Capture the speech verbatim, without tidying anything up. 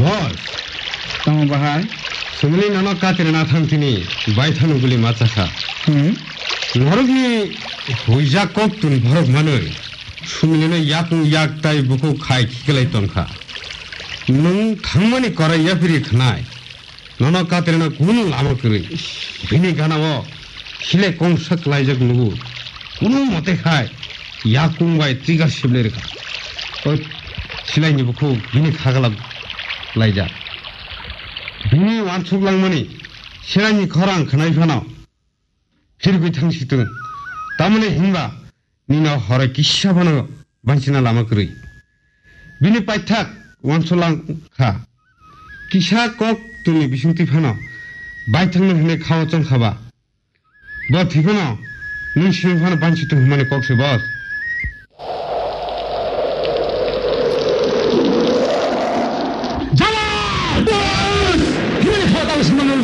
Hor. Tamo bahai? Sumili nono katirna thangtini baithano guli machakha. Hmm. Norokni huijak kok tun borok manwi. Sumilino yakung yak tai bukhuk khai khiklai tongkha. Nwng thangmani korai yaphiri khnai. Nono katirna kunu lama kwrwi. Bini ganao silai kongsa klaijak nugo. Kunu mote khai yakung bai trigger siblai rwkha. O silaini bukhuk bini khagala laijak. Bini wansuk langmani silaini khorang khnai phano phirgwi thangsitung. Tamoni hinba nino horo kisa phano bansina lama kwrwi. Bini paithak wansulang kha. Kisa kok tuni bisingtwi phano baithangno hwnwi khao chongkha ba. Bo thwi phano nwng simi phano bansi tong hwnmani kok se boss. Jala! Boss! Hwnmani khao tamo simi nwng